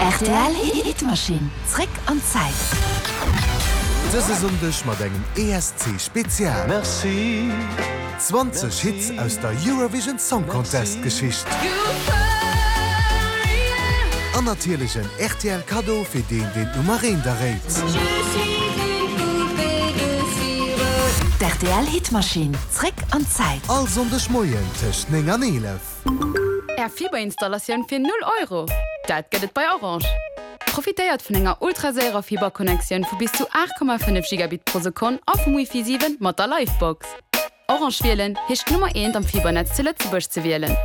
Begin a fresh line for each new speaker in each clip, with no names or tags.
Rtl Hitmaschinn, zréck an d'Zäit.
Dëse Sonndeg mat engem ESC Spezial. 20 Hits aus der Eurovision Song Contest Geschicht. An natierlech en rtl Kaddo fir deen deen d'Nummer eent erréit.
D'RTL Hitmaschinn, zréck an d'Zäit.
All Sonndeg Moien tëscht 9 an 11.
Är Fiberinstallatioun fir 0 Euro? Dat gëtt et bei Orange! Profitéiert vun enger ultraséierer Fiberconnectioun vu bis zu 8,5 Gigabit pro Sekonn a vum Wifi 7 mat der Livebox. Orange wielen heescht d'Nummer eent am Fibernetz zu Lëtzebuerg ze wielen.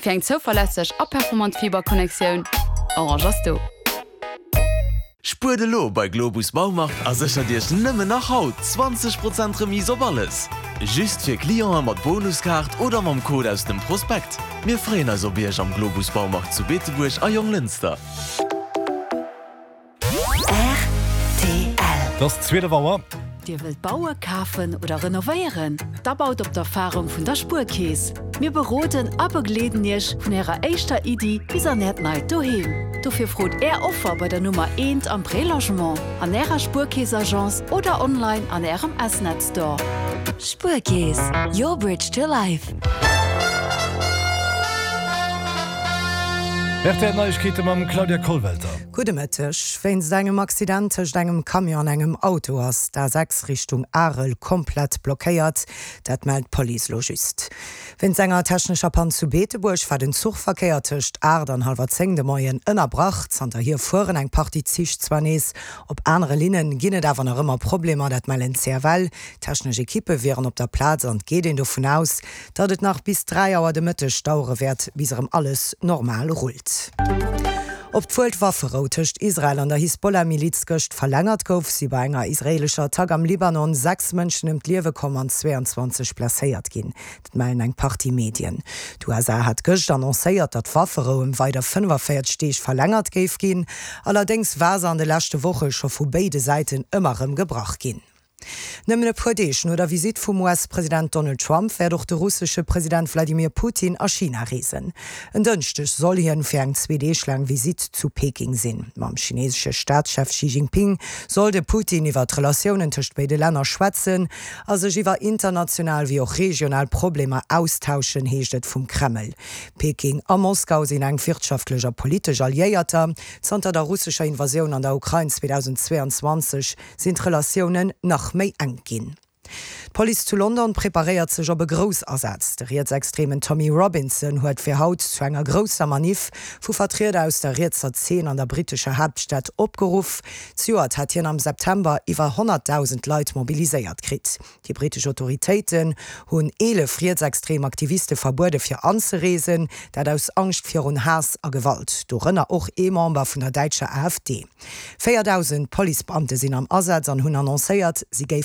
Fir eng zouverlässeg a performant Fiberconnectioun, Orange ass do!
Spuert elo bei Globus Baumarkt a séchert Iech nëmmen nach haut 20 Prozent Remise op alles! Just fir Clienten mat Bonuskaart oder mam Code aus dem Prospekt. Mir freeën eis op Iech am Globus Baumarkt zu Beetebuerg a Jonglënster.
Rtl.
Et ass 12 Auer.
Dir wëllt baue, kafen oder renovéieren? Da baut op d'Erfarung vun der Spuerkeess. Mir beroden a begleeden Iech vun Ärer éischter Iddi bis an Äert neit Doheem. Dofir frot Är Offer bei der Nummer eent am Prélogement, an Ärer Spuerkeess-Agence oder online an Ärem S-Net Store.
Spuerkeess, your bridge to life.
Rtl Neiegkeete mam Claudia Kollwelter.
Gudde Mëtteg. Wéinst engem Accident tëscht engem Camion an engem Auto ass d'A6 Richtung Arel komplett blockéiert. Dat mellt d'Police lo just. Wéinst enger technescher Pann zu Beetebuerg war den Zuchverkéier tëscht 8 an hallwer 10 de Moien ënnerbrach. Zanterhier fueren eng Partie Zich zwar nees, op anere Linne ginn et awer nach ëmmer Problemer, dat mellen d'CFL. Technesch Ekippe wieren op der Plaz an et geet een dovun aus, datt et nach bis 3 Auer de Mëtteg dauere wäert, bis erëm alles normal rullt. Obwuel d'Wafferou tëscht Israel an der Hisbollah-Miliz gëscht verlängert gouf, si bei enger israeelescher Attack am Libanon 6 Mënschen ëm d'Liewe komm an 22 blesséiert ginn. Dat mellen eng Partie Medien. D'USA hat gëscht annoncéiert, datt d'Wafferou ëm weider 45 Deeg verlängert géif ginn. Allerdéngs war se an de leschte Woche scho vu béide Säiten ëmmer erëm gebrach ginn. Nëmmen e puer Deeg no der Visitt vum US-President Donald Trump wäert och de russesche President Wladimir Putin a China reesen. En Dënschdeg soll hien fir eng zwee Deeg laang Visitt zu Peking sinn. Mam chinesesche Staatschef Xi Jinping soll de Putin iwwer d'Relatiounen tëscht béide Länner schwätzen a sech iwwer international wéi och regional Problemer austauschen, heescht et vum Kreml. Peking a Moskau sinn enk wirtschaftlech a politesch Alliéierter. Zanter der russescher Invasioun an der Ukrain 2022 sinn d'Relatiounen nach méi enk ginn. D'Police zu London preparéiert sech op e Groussasaz. De rietsextremen Tommy Robinson huet fir haut zu enger grousser Maniff vu Vertrieder aus der rietser Zeen an der brittescher Haaptstad opgeruff. Zejoert hat hien am September iwwer 100.000 Leit mobiliséiert kritt. Déi brittesch Autoritéiten hunn 11 rietsextrem Aktiviste verbuede fir anzereesen, dat aus Angscht virun Haass a Gewalt, dorënner och ee Member vun der däitscher AfD. 4.000 Policebeamte sinn am Asaz an hunn annoncéiert, si géifen.